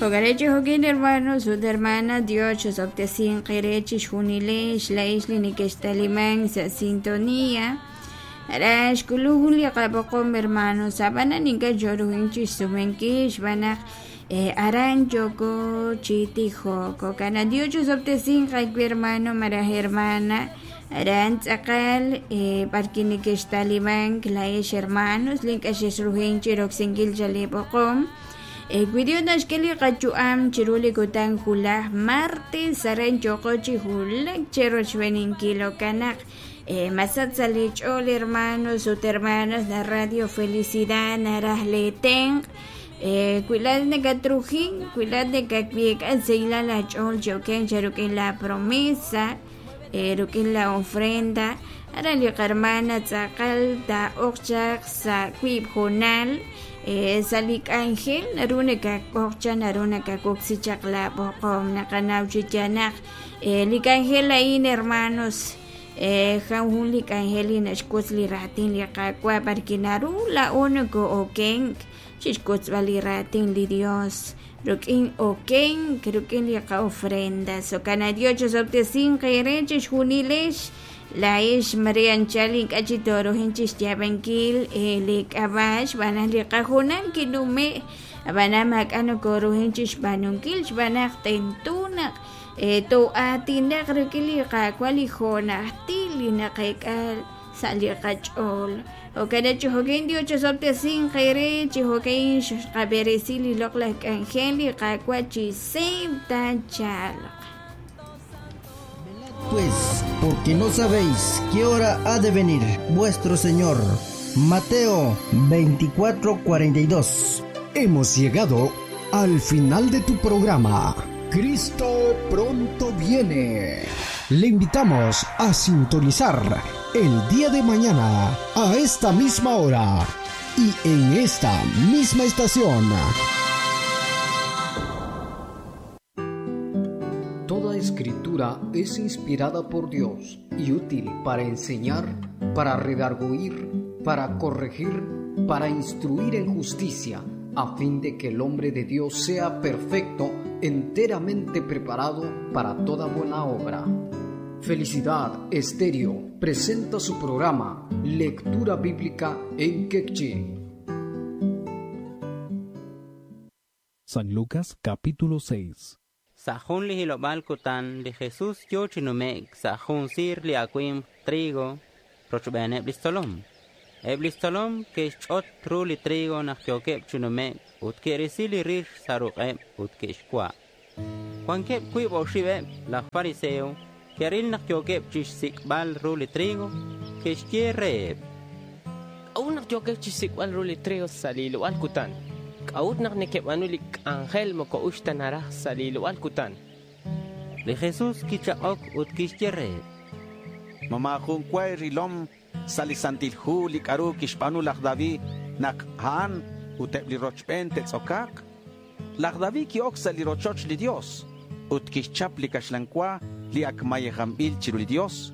Jo'kan chi jo'kin hermanos ut hermanas, Dios chosob'tesinq eere chixjunilex laa'ex li nekextalimank sa' sintonía. Aran xk'ulunk jun li qab'oqom hermanos, ab'anan ink'a' xooruhank chixsumenkil xb'aan naq aran yooko chi tijok. Jo'kan naq Dios chosob'tesinq aawe hermano malaj hermana, aran tz'aqal b'arwi' nekextalimank laa'ex hermanos li ink'a' xexruhank chi roksinkil chaq li b'oqom. Wi Dios naxk'e li qayu'am chiru li kutan wulaj martes, aran yooqo chi wulak cherochb'eeninkil. Jo'kan naq masach sa' li ch'ool hermanos ut hermanas la Radio Felicidad naraj lee tenq'. Wi laa'at nakatrujink, wi laa'at nakatweek'a sahilal aach'ool chi okenk cha rik'in la promesa, rik'in la ofrenda, aran li qahermana tz'aqal taa'oq chaq sa' wiib' hoonal sa' li k'anjel naru nakak'oq chaq naru nakawoksi chaq la b'oqom naqanaw chi yaal naq li k'anjel a'in hermanos jaw jun li k'anjel li naxwotz li raatin li Qaawa' b'arwi' naru laa'o noko'okenk chixwotzb'al li raatin li Dios rik'in okenk rik'in li qa'ofrenda. Jo'kan naq Dios chosob'tesinq eere chixjunilex laa'ex mare anchal ink'a' chi tooruhank chixyaab'ankil li k'ab'a' xb'aan naq li qahoonal kinume' ab'anan maak'a' nokooruhank chixb'aanunkil xb'aan naq tento naq too'aatinaq rik'in li Qaawa' li jo'najtil li naqeek'a sa' li qach'ool. Jo'kan naq chi jo'kan Dios chosob'tesinq eere, chi jo'kan xqab'eresi li loq'laj k'anjel li Qaawa' chi seeb' taachalq. Pues, porque no sabéis qué hora ha de venir vuestro Señor. Mateo 24:42. Hemos llegado al final de tu programa. Cristo pronto viene. Le invitamos a sintonizar el día de mañana a esta misma hora y en esta misma estación. Toda escritura es inspirada por Dios y útil para enseñar, para redarguir, para corregir, para instruir en justicia, a fin de que el hombre de Dios sea perfecto, enteramente preparado para toda buena obra. Felicidad Estéreo presenta su programa Lectura Bíblica en Quechí. San Lucas capítulo 6. Sa' jun li hilob'aal kutan li Jesús yo chi nume'k sa' jun siir li awimq trigo rochb'eeneb' li xtzolom. Eb' li xtzolom ke'xch'ot ru li trigo naq yookeb' chi nume'k ut ke'risi li rix sa' ruq'eb' ut ke'xwa'. Wankeb' wiib' oxib'eb' laj fariseo ke'ril naq yookeb' chixsik'b'al ru li trigo, ke'xye reheb': K'a'ut naq yookeb' chixsik'b'al ru li trigo sa' li hilob'aal kutan? K'a'ut naq nekeb'aanu li k'anjel moko us ta naraj sa' li hilob'aal kutan? Li Jesús kichaq'ok ut kixye reheb': Ma maajun wa rilom sa' li Santil Hu li k'a'ru kixb'aanu laj David naq a'an ut eb' li rochb'een te'tz'okaaq? Laj David ki'ok sa' li rochoch li Dios ut kixchap li kaxlan wa li ak mayejanb'il chiru li Dios.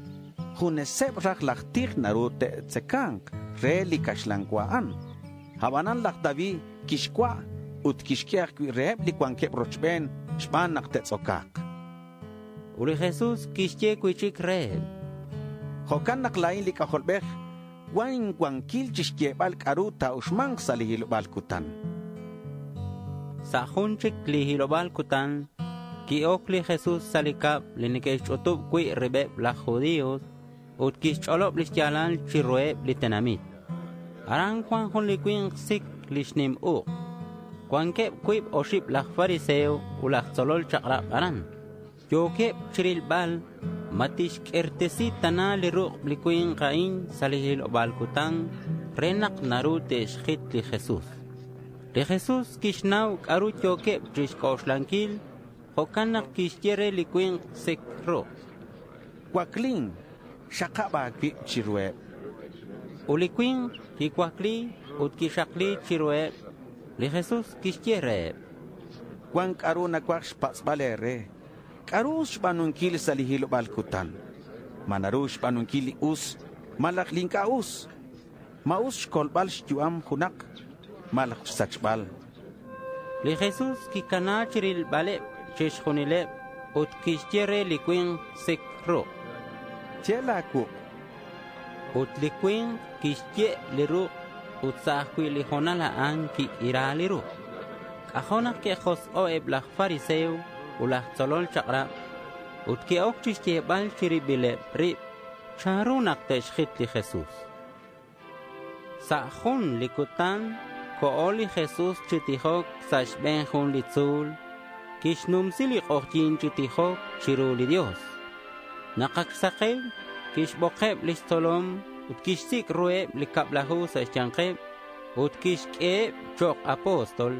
Juneseb' raj laj tij naru te'tzekanq re li kaxlan wa a'an. Ab'anan laj David kixwa' ut kixk'e ajwi' reheb' li wankeb' rochb'een xb'aan naq te'tz'okaaq. Ut li Jesús kixye wi' chik reheb': Jo'kan naq laa'in li K'ajolb'ej wan inwankil chixyeeb'al k'a'ru taa'uxmanq sa' li hilob'aal kutan. Sa' jun chik li hilob'aal kutan ki'ok li Jesús sa' li kab' li neke'xch'utub' wi' rib'eb' laj judíos ut kixch'olob' li xyaalal chiruheb' li tenamit. Aran cuan jun li cui̱nk sic li xnim uk'. Cuanqueb cuib oxib laj fariseo ut laj tzolol chak'rab aran. Yookeb chirilbal ma tixq'uirtesi tana li ruk' li cui̱nk a'in sa' li hilob'aal kutan re nak naru te'xjit li Jesús. Li Jesús kixnaw k'a'ru yookeb chixk'oxlanquil, jo'kan naq kixye re li cui̱nk sic ruk': Cuaclin, xaqab' a̱cuib chiruheb. Ut li cui̱nk quicuacli ut quixakli chiruheb. Li Jesús kixye reheb: Cuan k'a'ru nacuaj xpatz'bal e̱re. K'a'ru us xb'aanunkil sa' li hilob'aal kutan? Ma naru xb'aanunkil li us malaj li ink'a' us? Ma us xkolb'al xyu'am junaq malaj xsachb'al? Li Jesús kicana chirilbaleb chixjunileb ut quixye re li cui̱nk sic ruk'. Ye la̱ cuuk'. Ut li cui̱nk quixye li ruk' ut sa' ajcui' li ho̱nal a'an quiq'uira li ruk'. C'ajo' nak que'josk'o' eb laj fariseo ut laj tzolol chak'rab ut que'oc chixyebal chi ribileb rib chanru nak te'xjit li Jesús. Sa' jun li cutan co'o li Jesús chi tijoc sa' xbe̱n jun li tzu̱l. Quixnumsi li k'ojyi̱n chi tijoc chiru li Dios. Nak ac xsakew, quixbokeb lix tzolom ut quixsic' ruheb li cablaju sa' xya̱nkeb ut quixq'ueheb chok' apóstol.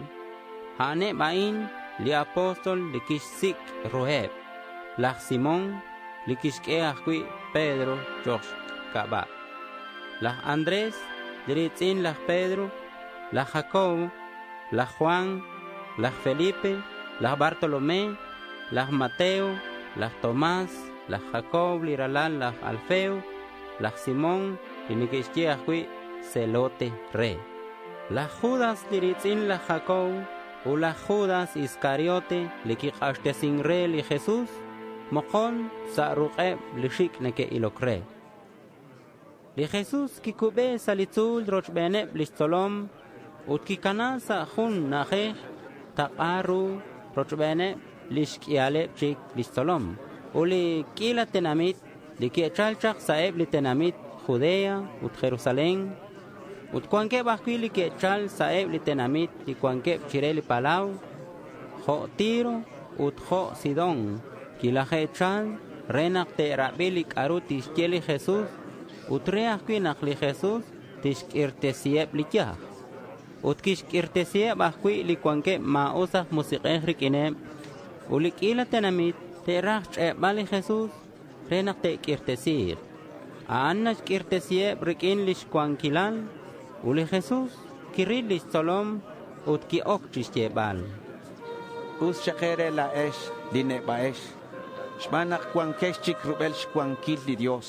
A'aneb a'in li apóstol li quixsic' ruheb. Laj Simón, li quixq'ue ajcui' Pedro chok' xc'aba'. Laj Andrés, li ri̱tz'in laj Pedro, laj Jacobo, laj Juan, laj Felipe, laj Bartolomé, laj Mateo, laj Tomás, laj Jacob li ralal laj Alfeo, laj Simón li neque'xye ajcui' Zelote re. Laj Judas li ri̱tz'in laj Jacob ut laj Judas Iscariote li kik'axtesin re li Jesús mokon sa' ruk'eb li xic' neque'iloc re. Li Jesús quicube sa' li tzu̱l rochbeneb lix tzolom ut quicana sa' jun na'ajej tak'a ru rochbeneb lix q'uialeb chic lix tzolom. Ut li q'uila tenamit li que'chal chak sa' eb li tenamit Judea ut Jerusalén. Ut cuanqueb ajcui' li que'chal sa' eb li tenamit li cuanqueb chire li palau, jo' Tiro ut jo' Sidón. Quilaje'chal re nak te'rabi li c'a'ru tixye li Jesús ut re ajcui' nak li Jesús tixq'uirtesiheb li yaj. Ut quixq'uirtesiheb ajcui' li cuanqueb ma̱us aj musik'ej riq'uineb. Ut li q'uila tenamit te'raj xch'e'bal li Jesús re nak te'q'uirtesi̱k. A'an naxq'uirtesiheb riq'uin lix cuanquilal. Ut li Jesús quiril lix tzolom ut qui-oc chixyebal. Us xak e̱re la̱ex li neba'ex, xban nak cuanquex chic rubel xcuanquil li Dios.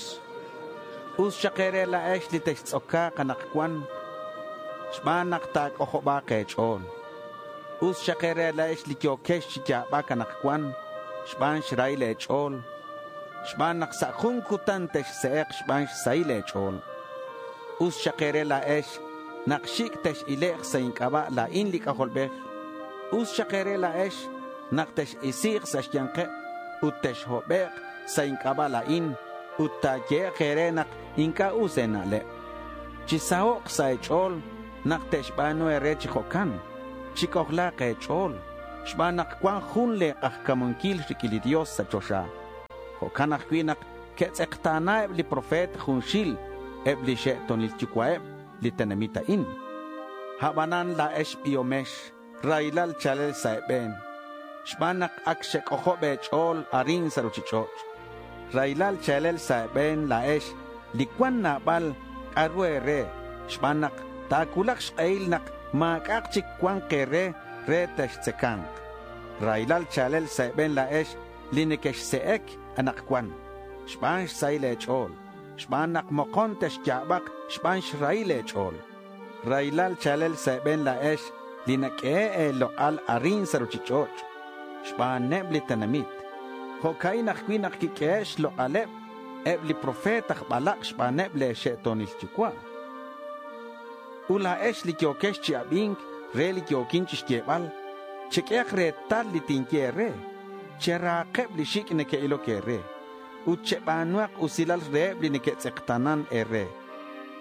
Us xak e̱re la̱ex li textz'oca̱k anakcuan, xban nak ta̱c'ojobak e̱ch'o̱l. Us xak e̱re la̱ex li yo̱quex chi ya̱bac anakcuan, xban xrahil e̱ch'o̱l, xban nak sa' jun cutan texse'ek xban xsahil e̱ch'o̱l. Us xak e̱re la̱ex nak xic' tex-ilek sa' inc'aba' la̱in li C'ajolbej. Us xak e̱re la̱ex nak tex-isi̱k sa' xya̱nkeb ut texhobek' sa' inc'aba' la̱in ut ta̱yehe'k e̱re nak inc'a' us e̱na'leb. Chisahok' sa' e̱ch'o̱l nak te'xba̱nu e̱re chi jo'can. Chic'ojla̱k e̱ch'o̱l xban nak cuan jun le̱ k'ajca̱munquil riq'uin li Dios sa' choxa. Jo'can ajcui' nak que'tz'ekta̱na eb li profeta junxil eb li xe'tonil yucua'eb li tenamit a'in. Abanan la̱ex biomex raylal chalel sa' e̱be̱n. Xban nak ac xec'ojob e̱ch'o̱l arin sa' ruchich'och'. Raylal chalel sa' e̱be̱n la̱ex li cuan nabal c'a'ru e̱re. Xban nak ta̱cuulak xk'ehil nak ma̱c'a'ak chic cuan e̱re re textzeca̱nk. Raylal chalel sa' e̱be̱n la̱ex li nequexse'ec anakcuan. Xban xsahil e̱ch'o̱l. Xban nak mokon texya̱bak xban xrahil e̱ch'o̱l. Raylal chalel sa' e̱be̱n la̱ex li naq'ue e̱lok'al arin sa' ruchich'och'. Xbaneb li tenamit. Jo'ca'in ajcui' nak quiq'uehe' xlok'aleb eb li profeta aj balak xbaneb le xe'tonil yucua'. Ut la̱ex li yo̱quex chi abink re li yo̱quin chixyebal, cheq'uehak retal li tinye e̱re. Chera̱keb li xic' neque'iloc e̱re. Ut cheba̱nuak usilal reheb li neque'tz'ekta̱nan e̱re.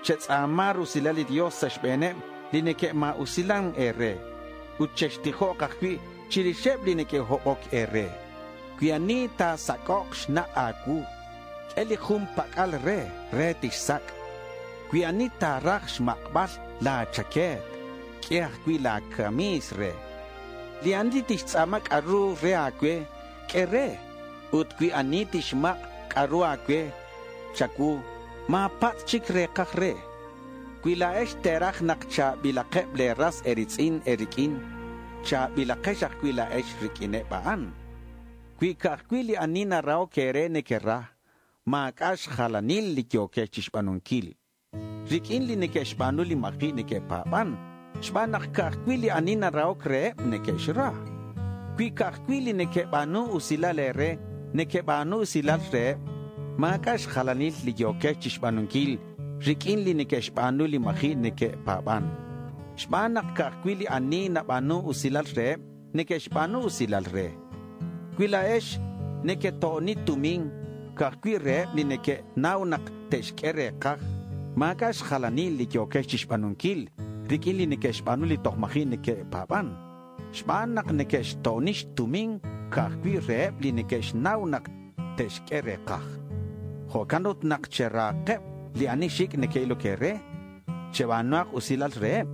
Chetz'a̱ma rusilal li Dios sa' xbe̱neb li neque'ma̱usilan e̱re. Ut chextijok ajcui' chirixeb li neque'hobok e̱re. Cui ani ta̱sac'ok xna' a̱cuu, q'ue li jun pac'al re, re tixsac'. Cui ani ta̱raj xmakbal la̱ chaquet, q'ue ajcui' la̱ camis re. Li ani tixtz'a̱ma k'a'ru re a̱cue, q'ue re. Ut cui ani tixmak' k'a'ru a̱cue, chacuu, ma̱patz' chic rekaj re. Cui la̱ex te̱raj nak cha̱bilakeb le̱ ras e̱ritz'in e̱riq'uin, cha̱bilakex ajcui' la̱ex riq'uineb a'an. Cui ca'ajcui' li ani narahok e̱re nequera, ma̱c'a' xjalanil li yo̱quex chixba̱nunquil. Riq'uin li neque'xba̱nu li maji' neque'pa̱ban. Xb'aan naq ka'ajwi' li ani narahok reheb' neke'xra. Wi ka'ajwi' li neke'b'aanu usilal eere, neke'b'aanu usilal reheb', maak'a' xjalanil li yookex chixb'aanunkil rik'in li neke'xb'aanu li maji' neke'paab'an. Xb'aan naq ka'ajwi' li ani nab'aanu usilal reheb' neke'xb'aanu usilal re. Wi laa'ex neketo'oni tumin ka'ajwi' reheb' li neke'naw naq te'xk'e reeqaj, maak'a' xjalanil li yookex chixb'aanunkil rik'in li neke'xb'aanu li toj maji' neke'paab'an. Xb'aan naq neke'xto'oni xtumin ka'ajwi' reheb' li neke'xnaw naq te'xk'e reeqaj. Jo'kan ut naq cheraqeb' li ani xik' neke'ilok eere, cheb'aanuaq usilal reheb'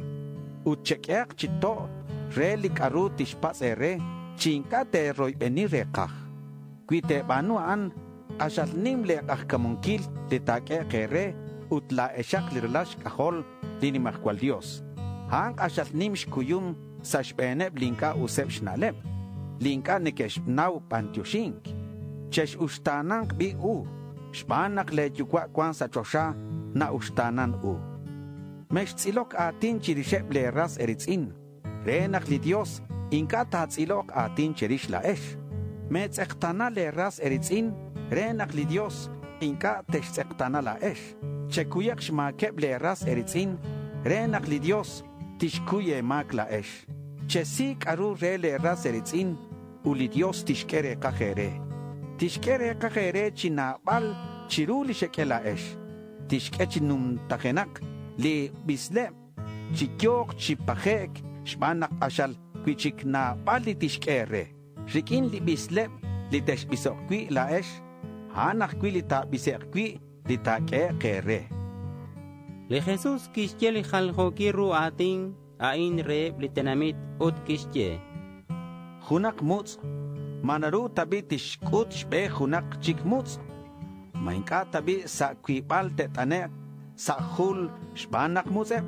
ut chek'ehaq chi to' re li k'aru tixpatz' eere chi ink'a' teeroyb'eni reeqaj. Wi teeb'aanu a'an, q'axal nim leeq'ajkamunkil li taak'e'q eere ut laa'exaq li ralal xk'ajol li Nimajwal Dios. A'an q'axal nim xkuyum sa' xb'eeneb' li ink'a' useb' xna'leb', li ink'a' neke'xnaw b'antioxink. Chexuxtaananq b'i u, xb'aan naq leeyuwa' cuan sa' choxa na'uxtaanan u. Mextz'ilok aatin chirixeb' leeras eritz'in, re naq li Dios ink'a' taatz'iloq aatin chirix laa'ex. Meetz'eqtana leeras eritz'in, re naq li Dios ink'a' textz'eqtana laa'ex. Chekuyaq xmaakeb' leeras eritz'in, re naq li Dios tixkuy eemaak laa'ex. Chesi k'aru re leeras eritz'in ut li Dios tixk'e reeqaj eere. Tixk'e reeqaj eere chi naab'al chiru li xek'e laa'ex. Tixk'e chi numtajenaq li b'isleb' chi yooq chi paje'k xb'aan naq q'axal wi'chik naab'al li tixk'e eere. Rik'in li b'isleb' li texb'isoq wi' laa'ex, a'an ajwi' li taab'ise'q wi' li taak'e'q eere. Li Jesús kixye li jaljookil ru aatin a'in reheb' li tenamit ut kixye: Junaq mutz' ma naru tab'i' tixk'ut xb'e junaq chik mutz'? Ma ink'a' tab'i' sa' cuib'al te't'ane'q sa' jul xb'aan naq mutz'eb'?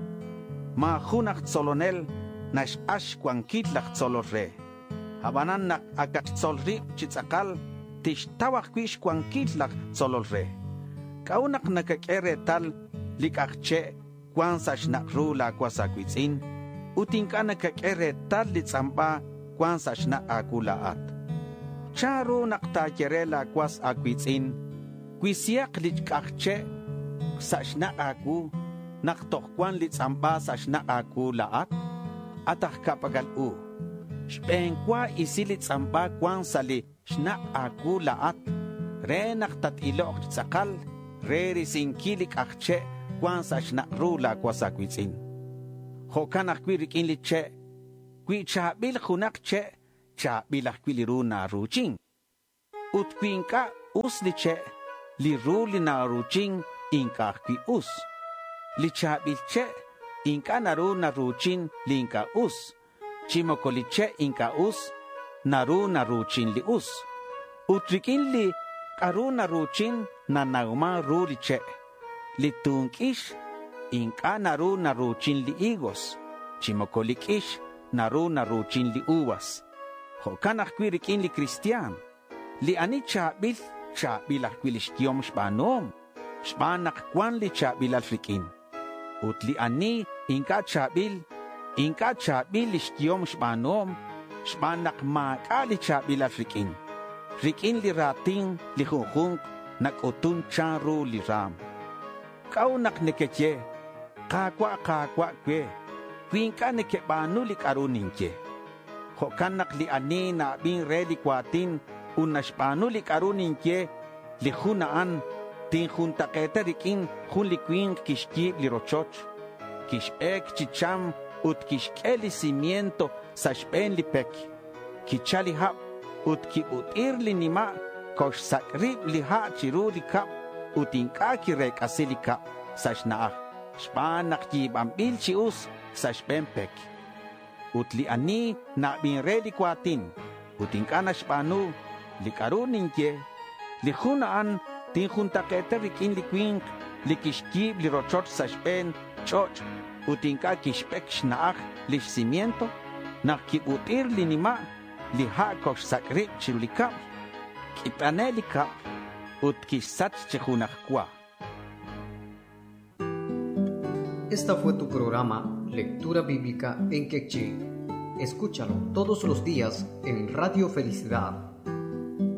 Ma jun aj tzolonel naxq'ax xcuanquil laj tzolol re. Ab'anan naq akaq xtzol rib' chi tz'aqal tixtaw ajwi' xcuanquil laj tzolol re. K'a'u naq nakak'e reetal li k'ajche' cuan sa' xnaq' ru laawas aawitz'in ut ink'a' nakak'e reetal li tz'amb'a cuan sa' xnaq' aawu laa'at. Chanru naq taayere laawas aawitz'in wisihaq li k'ajche' sa' xnaq' aawu naq toj cuan li tz'amb'a sa' xnaq' aawu laa'at? At aj ka'pak'al u. Xb'een wa isi li tz'amb'a cuan sa' li xnaq' aawu laa'at re naq tat-iloq chi tz'aqal re risinkil li k'ajche' cuan sa' xnaq' ru laawas aawitz'in. Jo'kan ajwi' rik'in li che', wi chaab'il junaq che', chaab'il ajwi' li ru naruuchin. Ut wi ink'a' us li che', li ru li naruuchin ink'a' ajwi' us. Li chaab'il che' ink'a' naru naruuchin li ink'a' us, chi moko li che' ink'a' us naru naruuchin li us. Ut rik'in li k'aru naruuchin nanawman ru li che'. Li tunk'ix ink'a' naru naruuchin li higos, chi moko li k'ix naru naruuchin li uvas. Jo'kan ajwi' rik'in li cristian. Li ani chaab'il, chaab'il ajwi' li xyom xb'aanuhom, xb'aan naq cuan li chaab'ilal rik'in. Ut li ani ink'a' chaab'il, ink'a' chaab'il li xyom xb'aanuhom, xb'aan naq maak'a' li chaab'ilal rik'in. Rik'in li raatin li junjunq nak'utun chanru li raam. K'a'u naq nekeye, Qaawa' qaawa' we, wi ink'a' nekeb'aanu li k'aru ninye. Jo'kan naq li ani na'ab'in re li kuatin ut naxb'aanu li k'aru ninye, li jun a'an tinjuntaq'eeta rik'in jun li winq kixyiib' li rochoch, kixb'eek chi cham ut kixk'e li cimiento sa' xb'een li pek. Kichal li hab' ut kib'ut'ir li nima' koxsak' rib' li ha' chiru li kab' ut ink'a' kireek'asi li kab' sa' xna'aj xb'aan naq yiib'anb'il chi us sa' xb'een pek. Ut li ani na'b'in re li kuatin ut ink'a' naxb'aanu li k'aru ninye, li jun a'an tinjuntaq'eeta rik'in li winq li kixyiib' li rochoch sa' xb'een ch'och' ut ink'a' kixb'ek xna'aj lix cimiento, naq kib'ut'ir li nima' li ha' koxsak' rib' chiru li kab'l, k'it'ane li kab'l ut kixsach chi junaj wa. Esta fue tu programa Lectura Bíblica en Quechí. Escúchalo todos los días en Radio Felicidad.